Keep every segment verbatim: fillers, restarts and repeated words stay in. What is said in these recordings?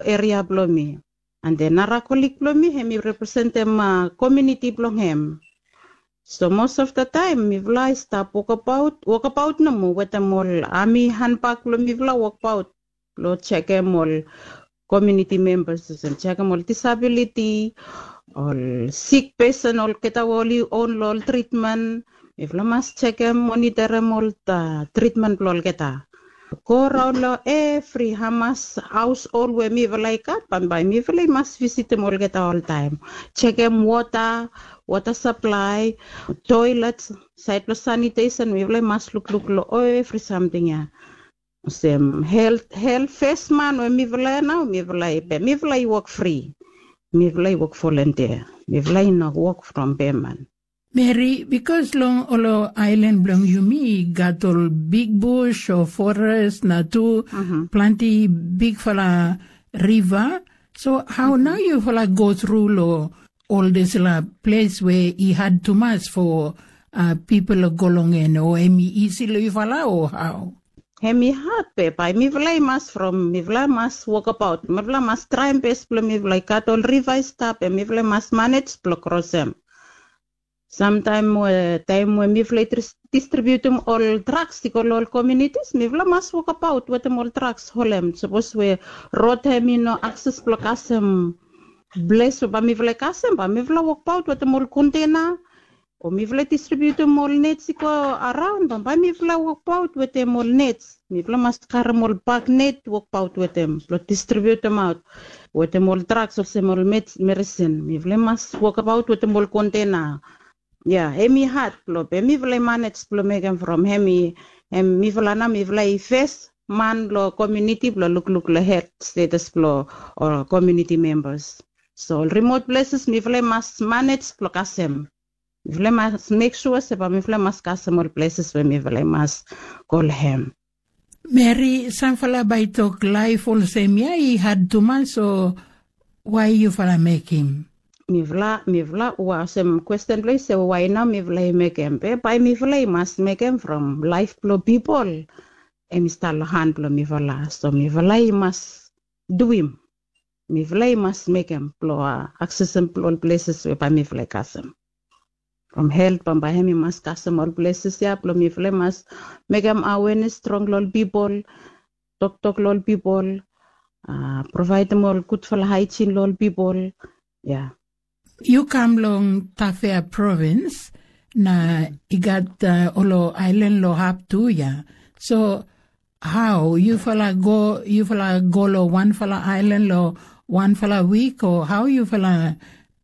eria blong mi. And then nara kolig blong mi hem i representem komiuniti blong hem. So most of the time mifala i stap wokabaut, wokabaut nomo wetem ol ami hanbak blong mifala wokabaut blong jekem ol komiuniti membas olsem jekem ol disabiliti, ol sik pesen olgeta we oli on long ol tritmen. Mifala mas jekem, moniterem ol tritmen blong olgeta. Go raon long evri hamas haos ol we mifala i gat, bambae mifala i mas visitim olgeta oltaem. Jekem wota, wota saplae, toelet, saed blong sanitesen, mifala i mas lukluk long evri samting ya. Olsem helt, helt fes man we mifala ya nao, mifala i pe, mifala i wok fri. Mifala i wok volontia. Mifala i no wok from pe man. Meri, bikos long ol aelan blong yumi i gat ol big bus o forest na tu planti bigfala riva. So hao nao yufala go tru long ol dispela ples we i had tumas fo pipol go long en, o hem i isi long yufala o hao? Hem i had be bae mifala i mas from, mifala mas wokabaot, mifala mas traem bes blong mifala i gat ol riva i stap, em mifala i mas manej blong krosem. Samtaem we, taem we mifala i distribiutim ol draks i go long ol komiunitis, mifala mas wokabaot wetem ol draks holem. Sapos we rod hem i no akses blong kasem ples we bae mifala i kasem, bae mifala wokabaot wetem ol kontena, o mifala i distribiutim ol nets i go araon, bambae mifala wokabaot wetem ol nets. Mifala mas karem ol bak net, wokabaot wetem blong distribiutimaot wetem ol draks olsem ol meds, meresin. Mifala i mas wokabaot wetem ol kontena. Ya, hem i had blong, be mifala i manej blong mekem from hem i, hem mifala nao mifala i fes man blong komiuniti blong lukluk long helt stetas blong ol komiuniti membas. So ol rimot pleses mifala i mas manej blong kasem. Mifala i mas mek sua se bae mifala i mas kasem ol pleses we mifala i mas go long hem. Meri, samfala bae i tok laef olsem ya i had tumas, o wae yufala mekem? Mifala, mifala, olsem kwesten blong yu se wae nao mifala i mekem, be bae mifala i mas mekem from laef blong pipol hem i stap long han blong mifala. So mifala i mas duim. Mifala i mas mekem blong aksesem blong ol pleses we bae mifala i kasem. From helt, bambae hem i mas kasem ol pleses ya blong mifala i mas mekem awenes strong long ol pipol, toktok long ol pipol, provaedem ol gudfala haejin long ol pipol. Ya. Yu kam long Tafea provins, na i gat ol aelan long hap tu ya. So hao yufala go, yufala go long wanfala aelan long wanfala wik, o hao yufala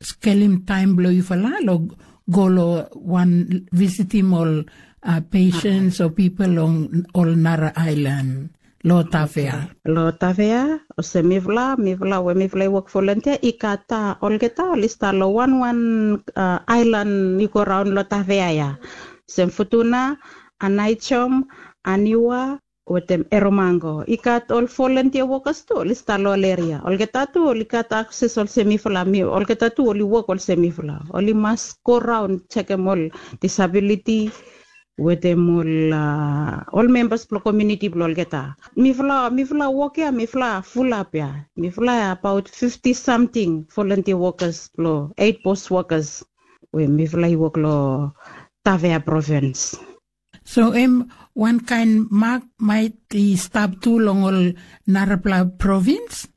skelem taem blong yufala long go long wan visitim ol pesens o pipol long ol nara aelan? Long Tafea. Long Tafea, olsem mifala, mifala we mifala i wok volontia i gat olgeta oli stap long wanwan aelan i go raon long Tafea ya. Olsem Futuna, Anaijom, Aniwa wetem Eromango. I gat ol volontia wokas tu oli stap long ol eria. Olgeta tu oli gat akses olsem mifala, olgeta tu oli wok olsem mifala. Oli mas go raon jekem ol disabiliti wetem ol, ol membas blong komiuniti blong olgeta. Mifala, mifala wok ya mifala fulap ya. Mifala abaot fifti samting volontia wokas blong eit bos wokas we mifala i wok long Tafea provins. So hem wankaen mak maet i stap tu long ol narapela provins?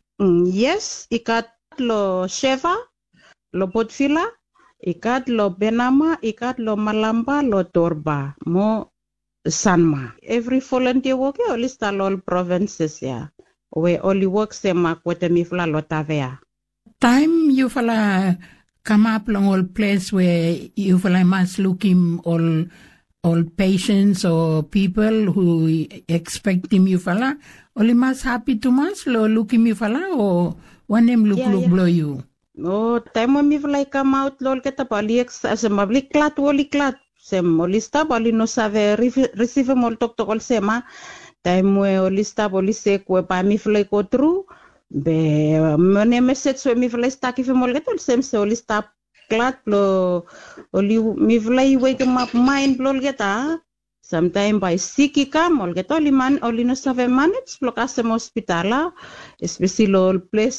Yes, i gat long Seva, long Potvila, i gat long Benama, i gat long Malamba, long Torba mo Sanma. Evri volontia wok ya oli stap long ol provinses ya we oli wok semak wetem mifala long Tafea. Taem yufala kamap long ol ples we yufala i mas lukim ol, ol pesens o pipol hu i ekspektim yufala, oli mas hapi tumas long lukim yufala, o wanem lukluk blong yu? O taem we mifala i kamaot long olgeta bae oli eks, olsem bae oli glad, oli glad. Olsem oli stap bae oli no save risivim ol toktok olsem a, taem we oli stap oli sek we bae mifala i go tru. Be wanem mesej we mifala i stap givim olgeta, olsem se oli stap glad blong oli, mifala i wekemap maen blong olgeta. Samtaem bae sik i kam, olgeta oli man, oli no save manej blong kasem hospital a, espeseli long ol ples